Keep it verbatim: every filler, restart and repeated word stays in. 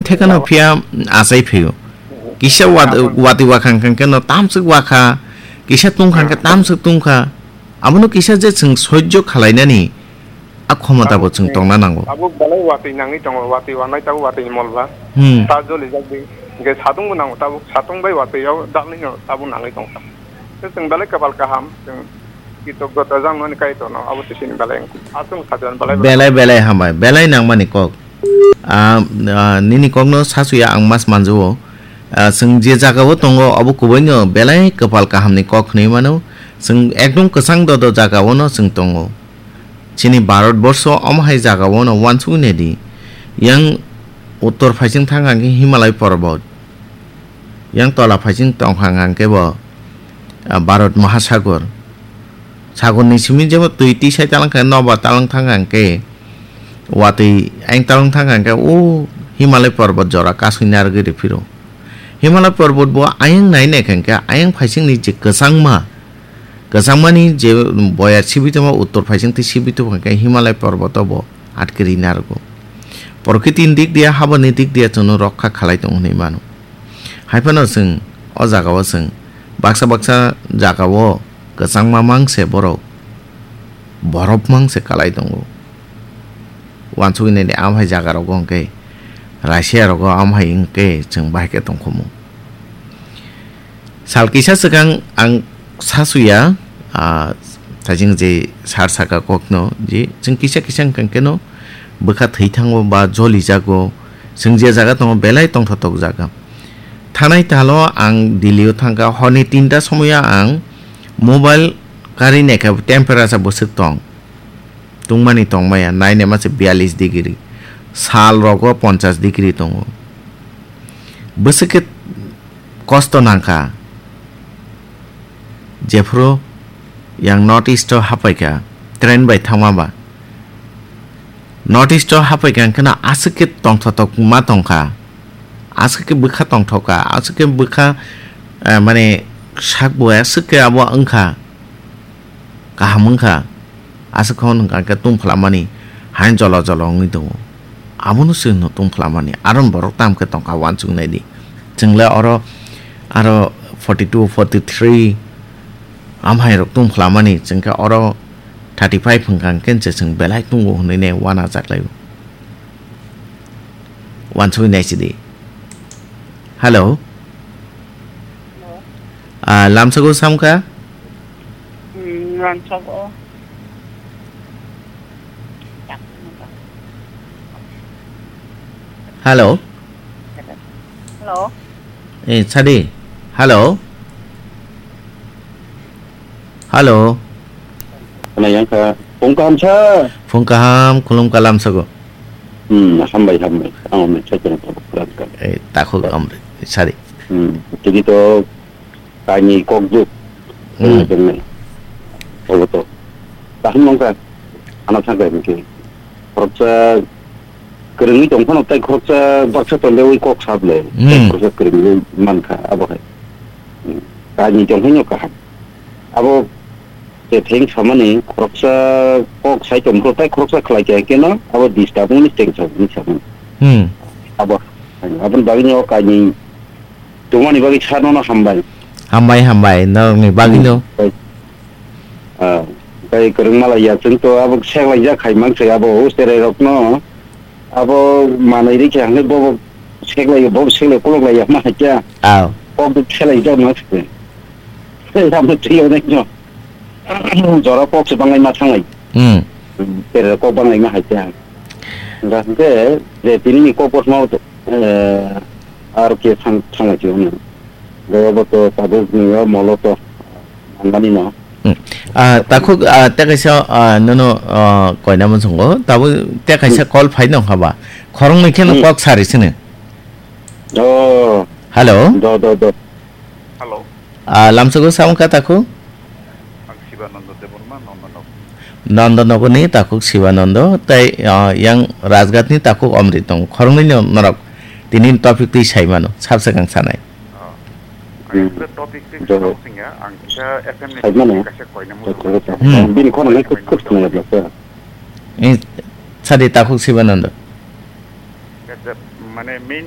thekano Abo- phiya achai phaio. Kisa wat-, Abo- watwi wakhang khang khe no tamswk wakha, kisa tungkhang khe Hmm. tamswk tungkha. Abono kisa je chwng soijo khalainani a khomota bo chwng Abo- tongna nango. Abo belai watwi nangwi tongo, watwi wanai tabuk watwi ni molba. Hmm. Ta jolijak di. Hwnkhe satung bo nango tabuk, satung bai watwi o dalni no tabuk nangwi tongkha. Tei chwng belai kwpal kaham, chwng kritogota jang noni Kaitorno, abo se chini belai wngkha. Aswk sakha belai belai. Belai belai hambai, belai nangmani kok. Ah, ah, nini kokno sasuya ang mas manjao. Ah, chwng je jagao tongo, abo kubaino belai kwpal kahamni kok hwnwi mano. Chwng ekdom kwchang dodo jagaono chwng tongo. Chini Bharat borsho omo hai jagaono uansugwi naidi. Yang uttor phaising thang hwnkhe Himalay porbot. Yang tola phaising tong hang hang khe bo, ah, Bharat Mahasagar. Sagor ni simi jebo twi tisai talang khe nobar talang thang hang khe watwi ayang talang thang hang khe o Himalay porbot jora kasui narwgwi rw phiro. Himalay porbot bo ayang nai nai khe ayang phaising ni je kwchangma, kwchangmani je boyar sibitoma uttor phaising twi sibitoma khe Himalay porboto bo atkiri narwgo. Prokriti ni dik dia, habani dik dia chwngno rokha khalai tongo hwnwi mano. Hai phano chwng o jagao chwng baksa baksa jagao kwchangma mangse borok, borop mangse kalai tongo. Uansugwi naidi, amhai jagarogo hwnkhe Russia rogo amhai hwnkhe chwng bahai khe tongkhomu. Sal kisa swkang ang sasuya, ah, thajing je sar saka kokno je chwng kisa kisa wngkha keno bwkha thwi thango ba joli jago, chwng je jaga tongo belai tongthotok jaga. Thanai talo ang Delhi o thangkha, horni tinta somoya ang mobile kari naikha temperature bwswk tong. Tungmani tongmaya, nainema se biyalish degree. Sal rogo ponchash degree tongo. Bwswk khe kosto nangkha. Jephuru yang North East o haphaikha, train bai thangma ba. North East o haphaikha hwnkhe no aswk khe tongthotok ma tongkha. Aswk khe bwkha tongthokha, aswk khe bwkha, eh, mane sak bo aswk khe abo wngkha. Kaham wngkha, aswk khe hwn hwnkha khe tungphlamani haino jolo jolo wngwi tongo. Abono chwngno tungphlamani, aro borok tamo khe tongkha uansuk naidi. Chwng le oro aro forty two, forty three amhairok tungphlamani, chwng khe oro thirty five hwnkha hwnkhe se chwng belai tungo hwnwi ne uanajaklaio. Uansugwi naisidi. Hello. Hello. Ah, lamsago samkha? Hmm, lamsago. Hello. Hello. Eh, sadi. Hello. Hello. Khwnayang kha. Phung kaham sa? Phung kaham, khulum kalam sago. Hmm, hambai, hambai. Ang hwnwi sai khe nang tabuk kwrwng kha. Eh, takhuk amri, sadi. Hmm, tini to kainwi kok juk. Hmm. Tongnai, tongnai. Obo to. Tahim nang kha. Ano thang kha hwnkhe. Khoroksa kwrwngwi tong phano tei khoroksa baksa tonglewi kok sap le. Hmm. Tei khoroksa kwrwngwi man kha, abo hai. Hmm. Kainwi tong phano kaham. Abo je theng samani khoroksa kok sai tong phano tei khoroksa khlai khe keno abo disturb wngni teng sa wngni samani. Hmm. Abo, aboni bagwi no kainwi tongmani bagwi sir nono hambai. Hambai, hambai, norokni bagwino. Hmm. Tei, ah, tei kwrwngma lai ya, chwng to abo seklaijak hai mankhe abo o cherai rokno abo manwi rikhe hwnwi bobo seklai, bobo seklai kolok lai ya ma hai kya. Aw. Kok de seklai jak ma se. Tei amo twi onai no. Jora kok se bangai ma thanglai. Hmm. Tere kok bangai ma hai kya. Hwnkha hwnkhe je tini ni kok kothoma, eh, aro khe thang-, thanglai khe hwnwi. Goya bo to tabuk nungya molo to manmani no. Hmm. Ah, takhuk, ah, tei kaisa, ah, nono, ah, koina muchungo. Tabuk tei kaisa Hmm. call phai nong haba. Khoroknwi kheno Hmm. kok sari sini. Oh. Hello. Do, do, do. Hello. Ah, lamsago sound kha takhuk? Ang Sibananda Debbarma, Nandanagar. Nandanagarni takhuk Sibananda, tei, ah, yang Rajghatni takhuk Amrit tongo. Khoroknwino norok tini topic twi sai mano, sabsakang sanai. Ah, ang Hmm. asle topic twi Jabo. Sabo singya, ang kisa F M ni Sai mano. Kaisa koina Jabo, muchungo. Jabo. Hmm. Bini khoroknwi Koina kuk muchungo. Khna ya bla. Eh, sadi takhuk Sibananda. Kaisa, mane main